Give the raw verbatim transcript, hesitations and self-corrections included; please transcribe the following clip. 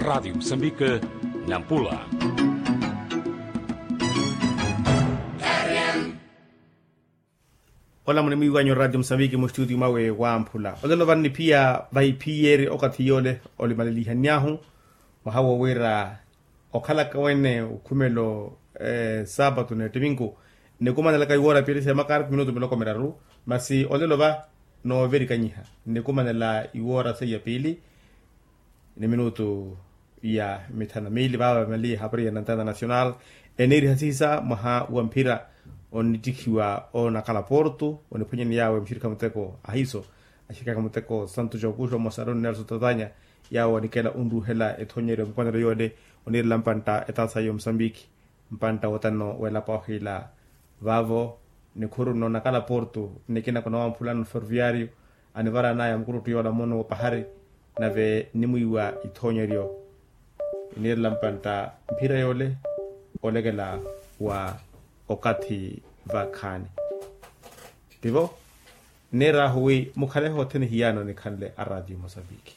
Radiyo musambike, nampula. Ola munimwiiwanyu radiyo musambike mustutiyo mwawe wamphula olelo vano niphiya vahiphiyeri okathi yole olimalelihany'ahu. Mwaha wo wira okhalaka wene okhumelo saapatu nettiminku, nikumanelaka iwoora piili semakartu minutu miloko miraru. Masi olelo va nooverikanyiha nikumanela iwoora seiya piili ni minutu ya mithanu na miili vaava vamaliye hapari ya nantana national. Eniirihasihisa mwaha wa mphira onittikhiwa onakhala portu oniphwanyani yaawe muxirikha muteko ahiso axirikha muteko santu jokuxo mosaroni nelson tatanya. Yaawe onikela onruuhela ethoonyeryo mukwanelo yoole oniirela mpantta etaasa ya omusambiki mpantta wotano w'elapa ohiila. Vaavo nikhuru nnoonakala portu nnikina kunawamphulano ferroviario anivaraanaya mukuruttu yoola mono wopahari nave nnimwiiwa ithoonyeryo iniirela mpantta mphira yoole olekela wa okathi vakhaani. Tivo nneeraahu wi mukhalehe othene hiyaano nikhanle a ratiyo mosambiki.